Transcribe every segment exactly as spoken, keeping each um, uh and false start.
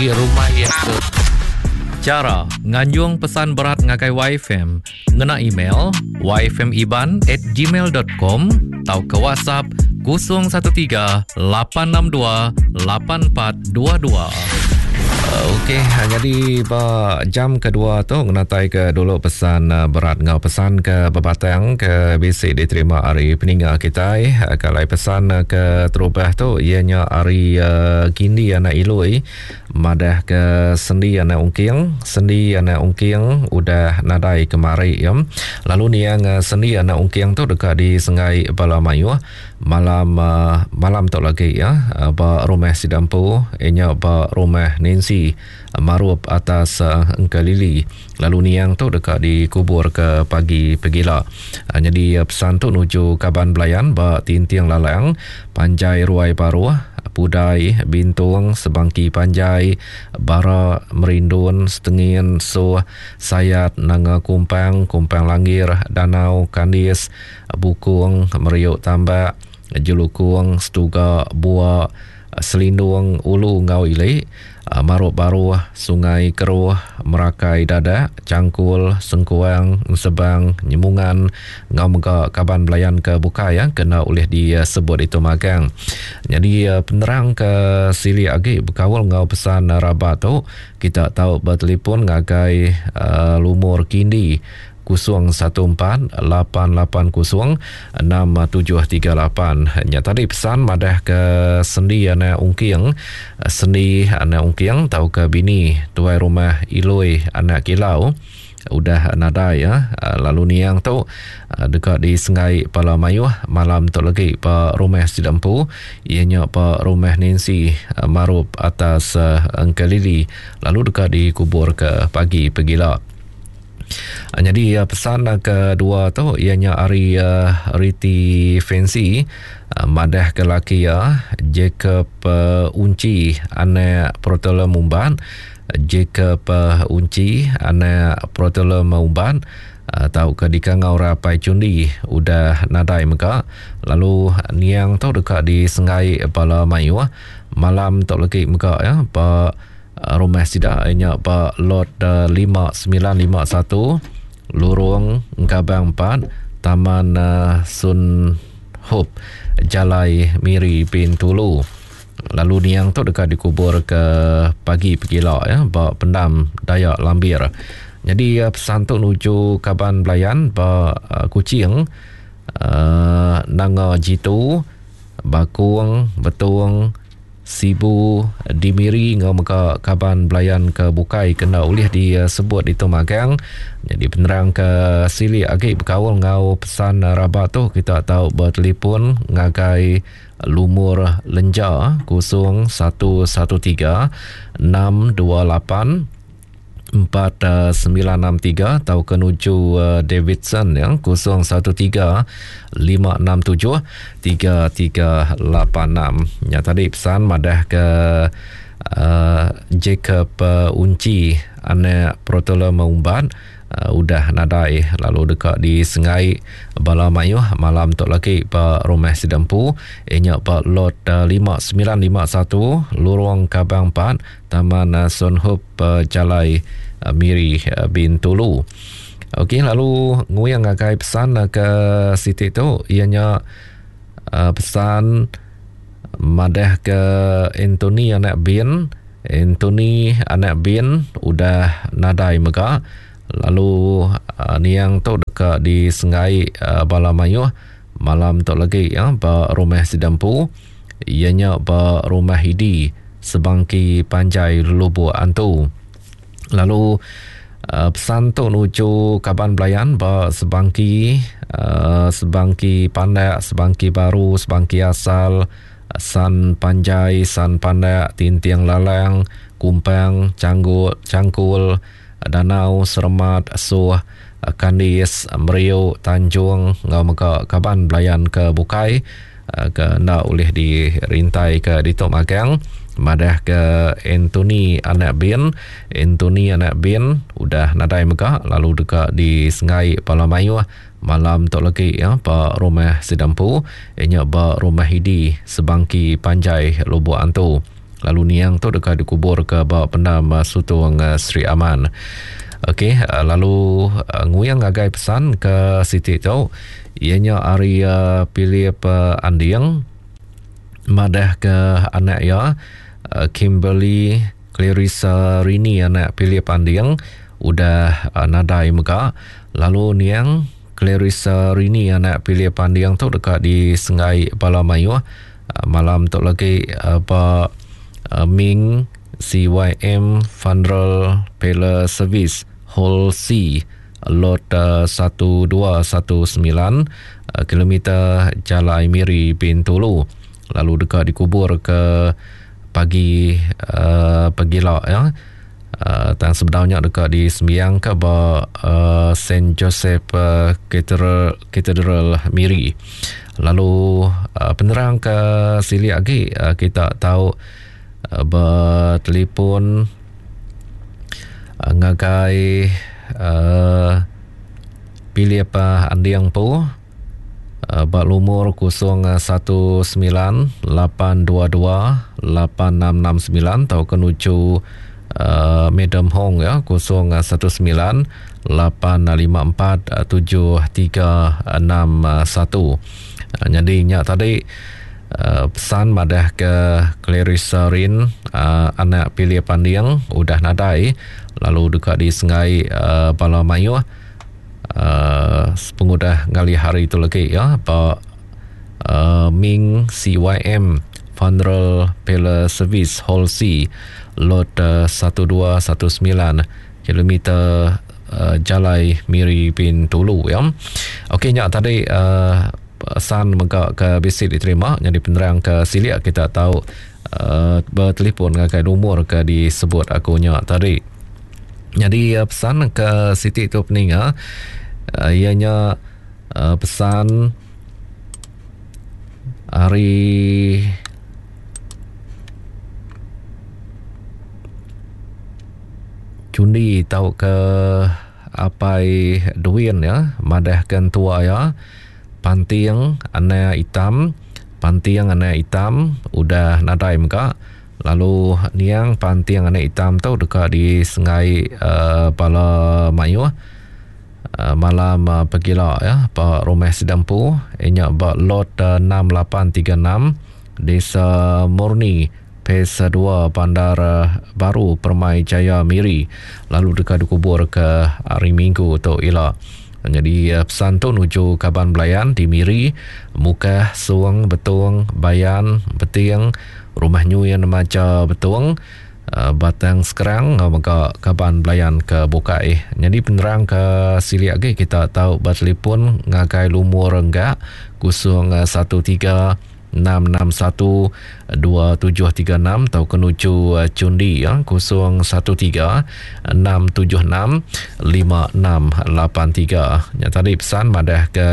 Rumah iya ke. Chara nganjung pesan berat ngagai Y F M ngena email y f m iban at gmail dot com tauka WhatsApp kosong satu tiga lapan enam dua lapan empat dua dua. Okey, jadi ba jam kedua tu ngenatai ke dulu pesan berat ngau pesan ke bebatang ke bisi diterima hari peninga kitai. Kalau pesan ke terubah tu ianya hari uh, Gindi anak Ilui madah ke sendi anak Ungking, sendi anak Ungking udah nadai kemari ya. Lalu niang sendi anak Ungking tu dekat di Sengai Bala Mayuh malam uh, malam tu lagi ya, ba rumah Sidampu ianya ba rumah Nancy Marup atas uh, Engkelili. Lalu niang tu dekat dikubur ke pagi pegila. Uh, jadi uh, pesan tu nuju kaban belayan ba Tinting Lalang, Panjai Ruai Baruh, Pudai, Bintung, Sebangki Panjai, Bara, Merindun, Setengin, Suh, Sayat, Nanga Kumpang, Kumpang Langgir, Danau, Kandis, Bukung, Meriuk Tambak, Jelukung, Setuga, Buak, Selindung, Ulu Ngau Ilik, Maruk Baruh, Sungai Keruh, Merakai Dadak, Cangkul, Sengkuang, Sebang, Nyemungan, ngau mega kaban belayan ke bukai ya, kena oleh disebut itu magang. Jadi penerang ke sili agi berkawal ngau pesan rabat tu, kita tahu bertelefon ngagai uh, lumur kindi kosong satu empat lapan lapan kosong enam tujuh tiga lapan. Nya tadi pesan madah ke sendi anak Ungking, sendi anak Ungking tau ke bini tuai rumah Ilui anak Kilau udah nadai ya. Lalu niang tu dekat di Sengai Pala Mayuh malam tu lagi pa rumah Sidampu ianya pa rumah Nancy Marup atas Engkelili, lalu dekat dikubur ke pagi pegila. Jadi pesan kedua tu ianya ari uh, Riti Fancy uh, madah ke laki ya Jacob uh, Unci anak Protolem Umban, Jacob uh, Unci anak Protolem Umban uh, tau ke dikangau rapai cundi udah nadai mega. Lalu niang tu dekat di Sengai Bala Mayuh malam tu lagi mega ya pa rumah sida ianya ba lot uh, lima sembilan lima satu Lorong Engkabang empat Taman uh, Sun Hop Jalai Miri Bintulu. Lalu niang tu dekat dikubur ke pagi pegila ya ba pendam Dayak Lambir. Jadi uh, pesan tu nuju kaban belayan ba uh, Kuching, uh, Nanga Jitu, Bakung, Betung, Sibu, Dimiri ngau mega kaban belayan ke bukai kena ulih disebut itu magang. Jadi penerang ke sili agi berkaul ngau pesan rabat tu kita tahu bertelefon ngagai lumur lenja kosong satu satu tiga enam dua lapan empat sembilan enam tiga atau ke nuju Davidson ya kosong satu tiga lima enam tujuh tiga tiga lapan enam. Ya tadi pesan madah ke uh, Jacob uh, Unci anak Protolem Umban uh, udah nadai lalu dekat di Sengai Bala Mayuh malam tu lagi ba rumah Sidampu ianya ba lot uh, lima sembilan lima satu Lorong Kabang empat Taman uh, Sun Hop uh, Jalai uh, Miri uh, Bintulu. Okey, lalu nguyang ngagai pesan uh, ke siti tu ianya uh, pesan madah ke Anthony anak Bin, Anthony anak Bin udah nadai mega. Lalu uh, niang tu dekat di Sengai uh, Bala Mayuh malam tu lagi ya ba rumah Sidampu ianya ba rumah Hidi Sebangki Panjai Lubuk Antu. Lalu uh, pesan tu nuju kaban belayan ba Sebangki, uh, Sebangki Pandak, Sebangki Baru, Sebangki Asal, San Panjai, San Pandak, Tinting Lalang, Kumpang, Canggut, Cangkul, Danau, Seremat, Suh, Kandis, Meriuk, Tanjung ngau mega kaban belayan ke bukai ke ndak boleh dirintai ke ditok magang. Madah ke Anthony anak Bin, Anthony anak Bin udah nadai mega lalu dekat di Sengai Pala Mayuh malam tu lagi ya ba rumah Sidampu ianya ba rumah Hidi Sebangki Panjai Lubuk Antu. Lalu niang tu deka dikubur ke ba pendam Sutong Sri Aman. Okey, lalu nguyang ngagai pesan ke siti tu ianya ari Philip Anding madah ke anak iya Kimberly Clarissa Rini anak Philip Anding udah nadai mega. Lalu niang Clarissa Rini anak Philip Anding tu deka disenggai bala mayuh malam tu lagi ba Ming C Y M Funeral Parlor Service Hall C Lot satu dua satu sembilan kilometer Jalai Miri Bintulu. Lalu deka dikubur ke pagi uh, pagila ya. Uh, tang sebenarnya deka disembiang ke ba uh, Saint Joseph uh, Cathedral, Cathedral Miri. Lalu uh, penerang ke silik lagi uh, kita tahu uh, bertelefon uh, ngagai uh, Philip uh, Andiang Po uh, ba lumur kosong satu sembilan lapan dua dua lapan enam enam sembilan atau ke nuju Uh, Madam Hong ya kosong satu sembilan lapan lima empat tujuh tiga enam satu. Jadi nya tadi uh, pesan madah ke Clarissa Rin uh, anak Pilih Panding udah nadai lalu dekat di Sengai uh, bala mayuh uh, sepengudah ngalih hari itu lagi ya ba uh, Ming C Y M Funeral Parlor Service Hall C Lot uh, satu dua satu sembilan kilometer uh, Jalai Miri Bintulu ya. Okey nya tadi uh, pesan mega ke bisi diterima jadi penerang ke silik kita tahu uh, bertelefon ngagai nomor ke disebut aku nya tadi. Jadi uh, pesan ke siti tu peninga uh, ianya uh, pesan hari Cundi tau ke apai Duin ya madah ke tua ya panting anak hitam panting anak hitam udah nadai mega. Lalu niang panting anak hitam tu dekat di Sengai uh, bala mayuh uh, malam uh, pegila ya pak rumah Sidampu inya ba lot uh, enam lapan tiga enam Desa Murni Pesa dua Bandar Baru Permai Jaya Miri. Lalu dekat dikubur ke hari Minggu tu ila. Jadi pesan tu nuju Kaban Belayan di Miri, Mukah, Suang, Betong, Bayan, Beting, Rumah Nyuyan Maja Betong, Batang Sekerang, mega Kaban Belayan ke Bukai. Jadi penerang ke silik lagi kita tahu bertelefon ngagai lumur enggak kosong satu tiga enam enam satu dua tujuh tiga enam atau kenuju Cundi ya kosong satu tiga enam tujuh enam lima enam lapan tiga. Yang tadi pesan madah ke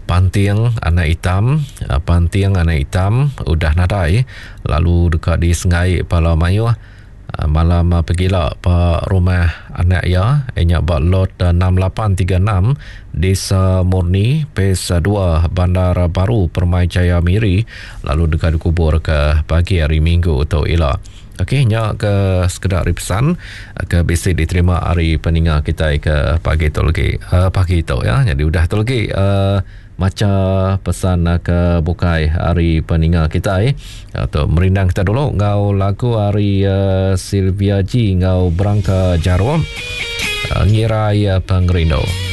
Panting anak hitam, panting anak hitam udah nadai lalu dekat di Sengai Pala Mayuh malam pegila pak rumah anak ya inya ba lot enam lapan tiga enam Desa Murni Pesa dua Bandar Baru Permai Jaya Miri lalu dekat dikubur ke pagi hari Minggu tu ila. Okey nya ke sekedar pesan ke bisi diterima hari peninga kita ke pagi tu lagi uh, pagi tu ya. Jadi udah tu lagi uh, maca pesan ke bukai hari peninga kita eh. Atau merindang kita dulu ngau lagu hari uh, Sylvia G ngau Berangka Jarum uh, ngirai uh, pengerindu.